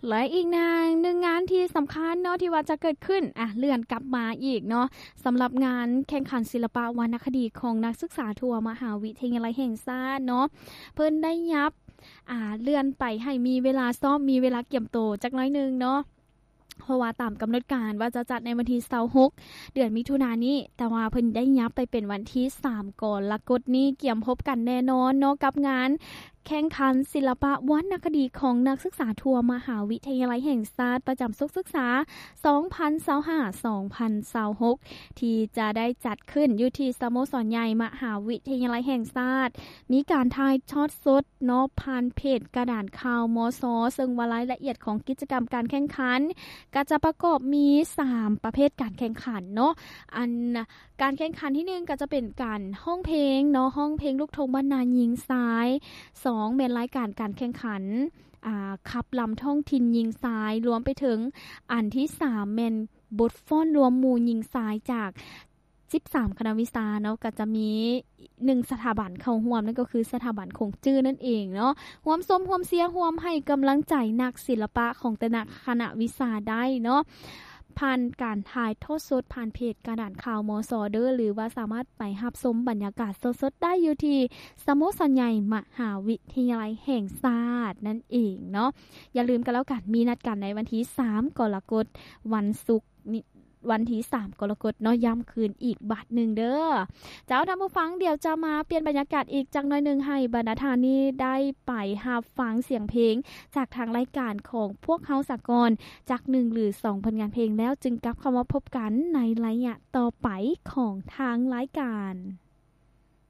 ແລະ ອີກໜຶ່ງງານທີ່ສຳຄັນເນາະ ທີ່ວ່າຈະເກີດຂຶ້ນ ອ່ະ ເລື່ອນກັບມາອີກເນາະ ສຳລັບງານແຂ່ງຂັນສິລະປະວັນນະຄະດີຂອງນັກສຶກສາທົ່ວມະຫາວິທະຍາໄລແຫ່ງຊາດເນາະ ເພິ່ນໄດ້ຫຍັບ ອ່າ ເລື່ອນໄປໃຫ້ມີເວລາຊ້ອມ ມີເວລາກຽມໂຕຈັກໜ້ອຍໜຶ່ງເນາະ ເພາະວ່າຕາມກຳນົດການວ່າຈະຈັດໃນວັນທີຊາວຫົກ ເດືອນມິຖຸນານີ້ ແຕ່ວ່າເພິ່ນໄດ້ຫຍັບໄປເປັນວັນທີສາມ ກໍລະກົດນີ້ ກຽມພົບກັນແນ່ນອນເນາະ ກັບງານແຂ່ງຂັນສິລະປະວັນນະຄະດີຂອງນັກສຶກສາທົ່ວມະຫາວິທະຍາໄລແຫ່ງຊາດ ປະຈຳສົກສຶກສາ ສອງພັນຊາວຫ້າ ສອງພັນຊາວຫົກ ທີ່ຈະໄດ້ຈັດຂຶ້ນຢູ່ທີ່ສະໂມສອນໃຫຍ່ມະຫາວິທະຍາໄລແຫ່ງຊາດ ມີການຖ່າຍທອດສົດ ເນາະ ຜ່ານເພຈກະດານຂ່າວ ມຊ ເຊິ່ງວ່າລາຍລະອຽດຂອງກິດຈະກຳການແຂ່ງຂັນ ກໍຈະປະກອບມີສາມປະເພດການແຂ່ງຂັນເນາະ ອັນ ການແຂ່ງຂັນທີໜຶ່ງກໍຈະເປັນການຮ້ອງເພງເນາະ ຮ້ອງເພງລູກທົ່ງບ້ານນາຍິງຊາຍ, ສອງ ແມ່ນລາຍການການແຂ່ງຂັນ ອ່າ ຂັບລຳທ້ອງຖິ່ນຍິງຊາຍ, ລວມໄປເຖິງອັນທີສາມ ແມ່ນບົດຟ້ອນລວມໝູ່ຍິງຊາຍຈາກ ສິບສາມຄະນະວິຊາເນາະ ກໍຈະມີໜຶ່ງສະຖາບັນເຂົ້າຮ່ວມ ນັ້ນກໍຄືສະຖາບັນຂົງຈື້ນັ້ນເອງເນາະ ຮ່ວມຊົມ ຮ່ວມເຊຍ ຮ່ວມໃຫ້ກຳລັງໃຈນັກສິລະປະຂອງແຕ່ລະຄະນະວິຊາໄດ້ເນາະ ຜ່ານການຖ່າຍທອດສົດຜ່ານເພຈກະດານຂ່າວ ມຊ ເດີ ຫຼືວ່າສາມາດໄປຮັບຊົມບັນຍາກາດສົດໆໄດ້ຢູ່ທີ່ສະໂມສອນໃຫຍ່ມະຫາວິທະຍາໄລແຫ່ງຊາດນັ້ນເອງເນາະ ຢ່າລືມກັນແລ້ວກັນ ມີນັດກັນໃນວັນທີສາມ ກໍລະກົດ ວັນສຸກນີ້ ວັນທີສາມ ກໍລະກົດເນາະ ຢ້ຳຄືນອີກບາດໜຶ່ງເດີ. ເຈົ້າ ທ່ານຜູ້ຟັງ ດຽວຈະມາປ່ຽນບັນຍາກາດອີກຈັກໜ້ອຍໜຶ່ງ ໃຫ້ບັນດາທ່ານນີ້ໄດ້ໄປຮັບຟັງສຽງເພງຈາກທາງລາຍການຂອງພວກເຮົາສາກ່ອນ ຈັກໜຶ່ງ ຫຼື ສອງ ຜົນງານເພງ ແລ້ວຈຶ່ງກັບເຂົ້າມາພົບກັນໃນໄລຍະຕໍ່ໄປຂອງທາງລາຍການ.